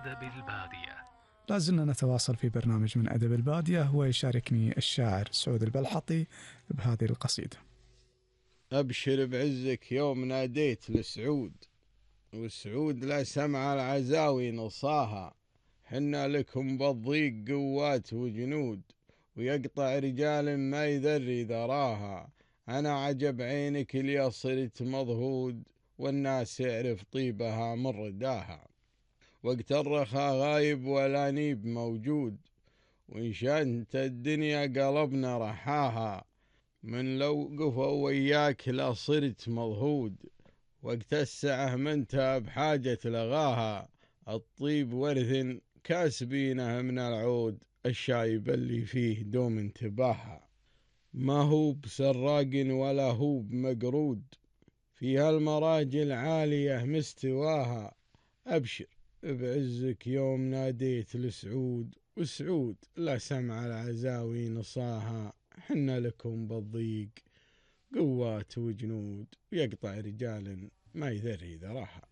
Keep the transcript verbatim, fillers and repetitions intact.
أدب البادية. لازلنا نتواصل في برنامج من أدب البادية، ويشاركني الشاعر سعود البلحطي بهذه القصيدة. أبشر بعزك يوم ناديت لسعود، والسعود لا سمع العزاوي نصاها. حنا لكم بالضيق قوات وجنود، ويقطع رجال ما يذري ذراها. أنا عجب عينك اللي صرت مضهود، والناس يعرف طيبها من رداها. وقت الرخا غايب والانيب موجود، وإن شانت الدنيا قلبنا رحاها. من لو قفوا وياك لا صرت مضهود، وقت السعه منتها بحاجة لغاها. الطيب ورث كاسبينه من العود، الشايب اللي فيه دوم انتباها. ما هو بسراق ولا هو بمقرود، فيها المراجل عالية مستواها. أبشر بعزك يوم ناديت لسعود، وسعود لا سمع العزاوي نصاها. حنا لكم بالضيق قوات وجنود، ويقطع رجال ما يذري ذراها.